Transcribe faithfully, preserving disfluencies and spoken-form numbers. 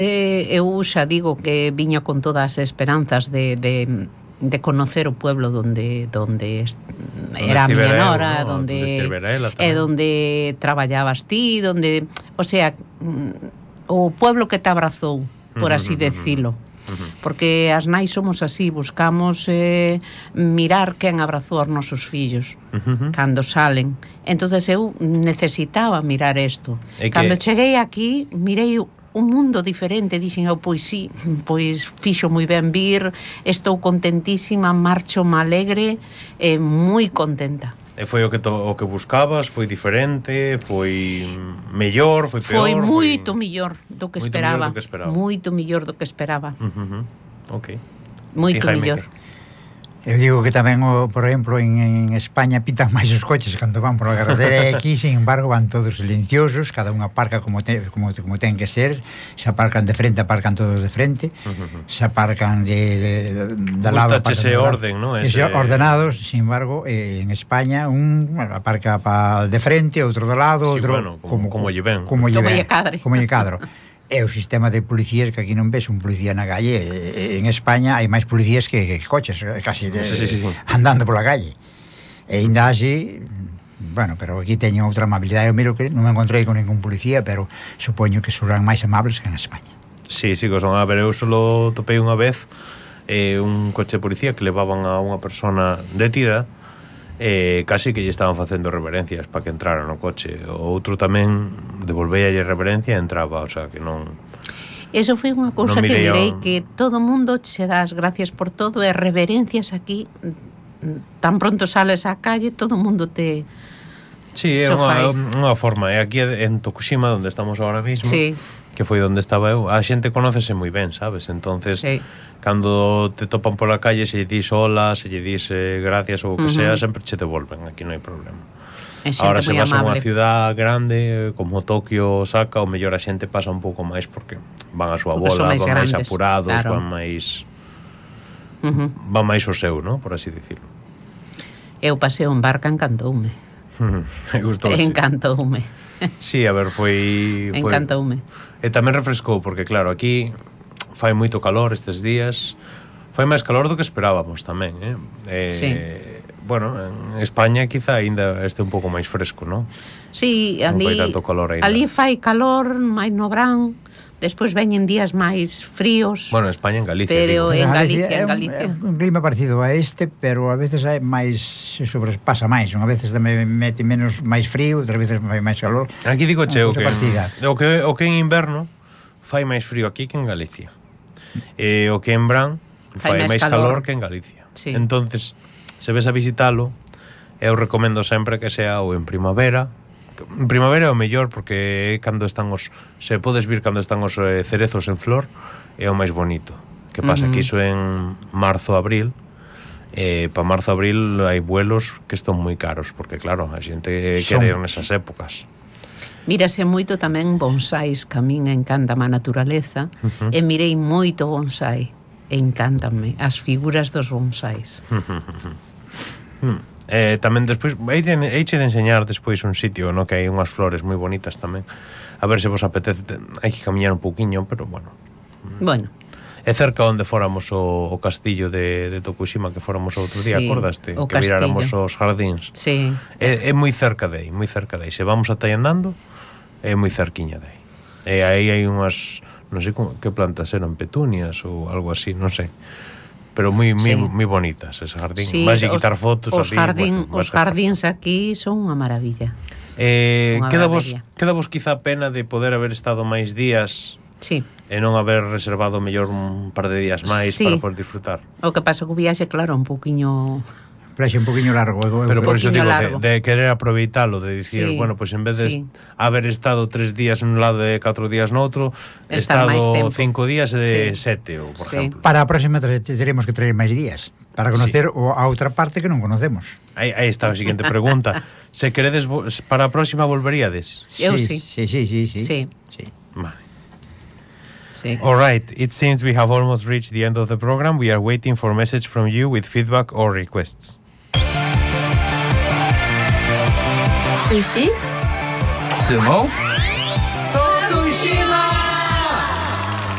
Eh, eu xa digo que viña con todas as esperanzas de, de, de conocer o pueblo donde donde era a miña nora, ¿no? donde e donde traballabas ti, donde, o sea, o pueblo que te abrazou, por así decilo. Porque as nais somos así, buscamos eh, mirar quen abrazou aos nosos fillos uh-huh. cando salen. Entonces eu necesitaba mirar isto. E cando que... cheguei aquí, mirei un mundo diferente, dixen eu, pois sí, pois fixo moi ben vir, estou contentísima, marcho alegre e moi contenta. E foi o que to, o que buscabas? Foi diferente? Foi mellor? Foi peor? Foi moito foi... mellor do que esperaba. Moito mellor do que esperaba. Moito mellor do que esperaba. Uh-huh. Ok. Moito mellor. Eu digo que tamén, o, por exemplo, en, en España pitan máis os coches cando van por a carretera, e aquí, sin embargo, van todos silenciosos, cada unha aparca como, te, como, como ten que ser, se aparcan de frente, aparcan todos de frente, uh-huh. se aparcan de, de, de lado. Gusta ese orden, ¿no? Ese... ordenados, sin embargo, eh, en España, un aparca pa de frente, outro do lado, sí, outro... Bueno, como, como, como lle ven. Como lle ven. Cadre. Como lle cadro. É o sistema de policías que aquí non ves un policía na calle. En España hai máis policías que, que coches, casi de, sí, sí, sí. andando pola calle. E ainda así, bueno, pero aquí teñen outra amabilidade. Eu miro que non me encontrei con ningún policía, pero supoño que serán máis amables que en España. Sí, sí, que son. A ver, eu solo topei unha vez eh, un coche de policía que levaban a unha persona detida, eh, casi que lle estaban facendo reverencias para que entrara no coche. O outro tamén devolvealle reverencia e entraba, o sea, que non... Eso foi unha cousa no que direi a... que todo mundo che das gracias por todo e reverencias aquí, tan pronto sales á calle, todo mundo te... Sí, é unha, unha forma. E aquí en Tokushima, onde estamos ahora mismo, sí. que foi onde estaba eu, a xente conócese moi ben, sabes? Entonces, sí. cando te topan pola calle, se lle dis hola, se lle dis eh, gracias ou o que uh-huh. sea, sempre che devolven, aquí non hai problema. Ahora se vas a unha ciudad grande como Tokio, Osaka, o mellor a xente pasa un pouco máis porque van a súa bola, van máis apurados, claro. van máis uh-huh. van máis o seu, ¿no? Por así dicirlo. Eu pasei un barca, encantoume. Gustoume. Encantoume. Sí, a ver, foi... foi... Encantoume. E tamén refrescou, porque claro, aquí fai moito calor estes días. Fai máis calor do que esperábamos tamén, eh? eh sí. Bueno, en España quizá ainda este un pouco máis fresco, non? Sí, ali, non fai tanto calor ainda. Ali fai calor, máis no verán, despois veñen días máis fríos. Bueno, en España, en Galicia. Pero digo. en Galicia, en Galicia. É un, un clima parecido a este, pero a veces hai máis, se sobrepasa máis. Unha veces tamén mete menos máis frío, outras veces fai máis calor. Aquí digo cheo que, o que o que en inverno fai máis frío aquí que en Galicia. E o que en verán fai, fai máis calor. calor que en Galicia. Sí. Entonces, se ves a visitalo, eu recomendo sempre que sea ou en primavera. En primavera é o mellor porque cando están os, se podes vir cando están os eh, cerezos en flor, é o máis bonito. Que pasa uh-huh. que iso en marzo, abril, eh, para marzo, abril hai vuelos que están moi caros, porque claro, a xente Son. quere ir nesas épocas. Mírase moito tamén bonsáis, que a min encanta a naturaleza, uh-huh. e mirei moito bonsai, encántanme as figuras dos bonsáis. Hmm. Eh, tamén despois heiche de enseñar despois un sitio, no, que hai unhas flores moi bonitas tamén, a ver se vos apetece. Hai que camiñar un pouquiño, pero bueno bueno é cerca onde fóramos o, o castillo de, de Tokushima, que fóramos outro día, sí, acordaste? Que castillo. Viráramos os jardíns. Sí. É, é moi cerca de aí, moi cerca de aí. Se vamos ata aí andando, é moi cerquiña de aí. E aí hai unhas, non sei como, que plantas eran, petunias ou algo así, non sei. Pero moi moi, sí. moi bonitas ese jardín. Sí, vas a quitar fotos os, ali, jardín, bueno, os jardíns aquí son unha maravilla. Eh, queda vos, queda vos quizá pena de poder haber estado máis días, sí, e non haber reservado mellor un par de días máis, sí, para poder disfrutar. O que pasa que o viaxe, claro, un pouquiño... Plaxe un poquinho largo. Pero por iso digo, de, de querer aproveitalo, de dicir, sí, bueno, pues en vez de sí. haber estado tres días en un lado e catro días no outro, he estado cinco días de sí. sete, ou, por sí. exemplo. Para a próxima teremos que traer máis días, para conocer sí. a outra parte que non conocemos. Aí, aí está a seguinte pregunta. Se queredes, para a próxima volveríades? Eu sí. Sí, sí, sí, sí. Sí. sí. Vale. Sí. All right, it seems we have almost reached the end of the program. We are waiting for a message from you with feedback or requests. Sushi? Sumo?